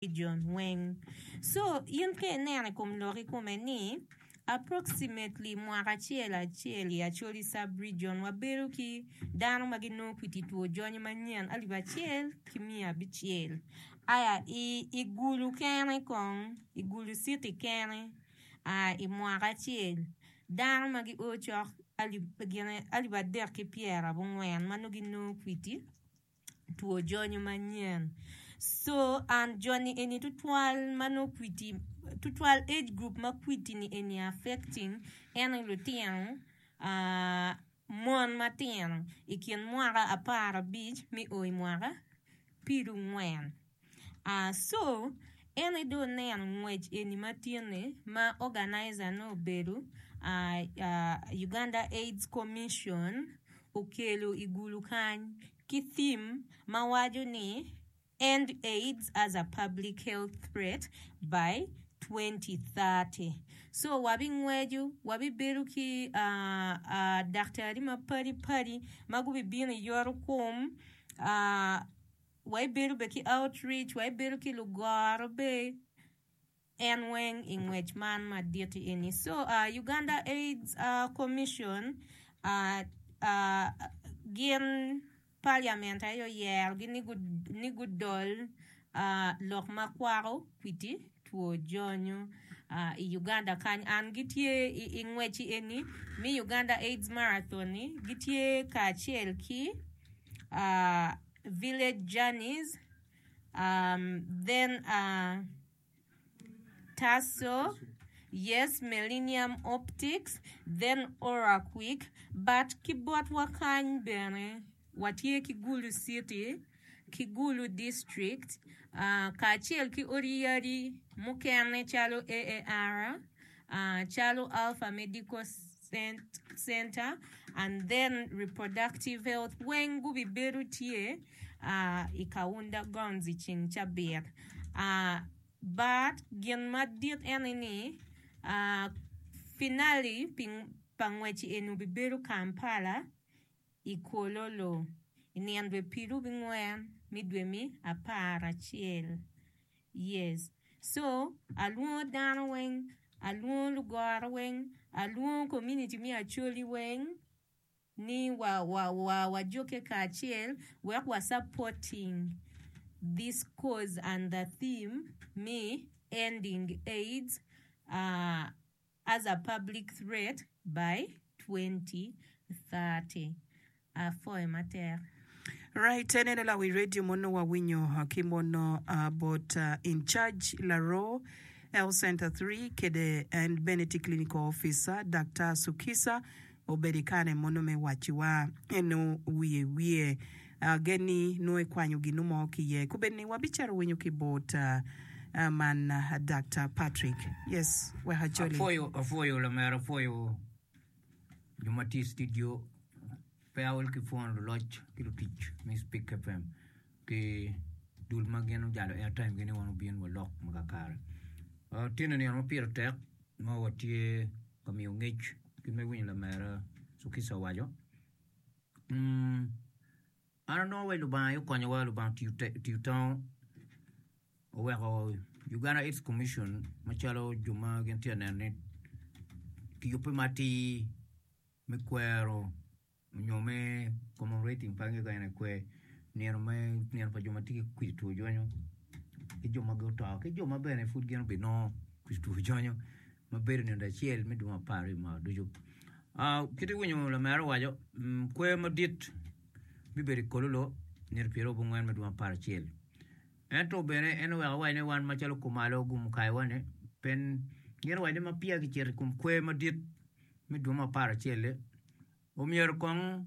Region weng. So in ka ineno i kom lok ikome ni approximately mwaka acel acel i Acholi sub region wabedo ki dano ma ginongo kwiti two jonyo manyen alip acel ki 600 aya i Gulu kene kong i Gulu city kene i mwaka acel dano ma gio cok alip 390 ma nongo ginongo kwiti two jonyo manyen so and joni eni tutwal ma nongo kwiti tutwal age group ma kwiti ni eni affecting en aye lutino mon matino ikin mwaka aparabic me o imwaka pyerangwen. So en aye dong oneno ngwec eni ma tye-ni ma organizer ne obedo Uganda Aids Commission okelo i gulu kany ki theme ma waco ni End Aids as a Public Health Threat by 2030. So wabingweco, wabibedo ki daktari mapadi padi ma gubibino i yoto kom. Waibedo bene ki outreach, waibedo ki lugoro be en weng i ngwec man madit-ti eni. So Uganda Aids Commission gin parliament aye oyerogi ni gudol lok ma kwako kwiti two jonyo i Uganda kany. An gitye i ngwec-ci eni me Uganda Aids Marathon-ni gitye kacel ki Village Journeys, then Tasso, yes Millennium Optics, then Oraquick, but ki botwa kany bene watye ki Gulu City ki Gulu District kacel ki odi yadi mukene calo AAR, calo Alpha Medical Center and then Reproductive Health weng gubibedo tye i Kaunda Grounds i ceng cabit. But gin madit en aye ni finale pa ngwec eni obibedo Kampala i Kololo i nino dwe pyerabingwen me dwe me aparacel. Yes so alwongo dano weng, alwongo lugoro weng, alwongo community me Acholi weng ni wa wa wa wajukke kacel wek wa supporting this cause and the theme me ending AIDS as a public threat by 2030. Apwoyo matek. Right eneno lawi radio mono wawinyo ki mono bot in charge laroo Health Center 3 kede en bene tye clinical officer Daktar Sukisa obedo ikane mono me waciwa eno wiye wiye gen ni nongo ikwanyo ginu mo ki iye kubed ni wabicito winyo ki bot man Daktar Patrick yes wek ajoli. Apwoyo apwoyo lamera apwoyo jo ma tye i studio pe aol ki pwono luloc ki lutic me Speak FM ki dul ma gin ojalo airtime gi ni wan obin walok ma kakare. Tye nino ma pire tek ma watye ka miyo ngec kit ma iwinyo lamera Cukisa owaco. An anongo wai Lubanga aye okonyowa, Lubanga otiyo tango oweko Uganda Aids Commission macalo jo ma gin tye ka neno ni kiyubbe ma atir me kwero nyo me commemorating pe angeyo ka en aye kwer nino me nino pa jo ma tye ki kwidi two jonyo ki jo ma guto ki jo ma bene pud gin obinongo kwidi two jonyo ma bedo nino acel me dwe me apar i mwaka ducu. Kit iwinyo lamera owaco kwer madit bibedo i Kololo nino pyerabongwen me dwe me aparacel ento bene en oweko awaco ni wan macalo kumalo gumukayowa-ni pe gin owaco ni ma peya kicito i kom kwer madit me dwe me aparacel-li omyero kong.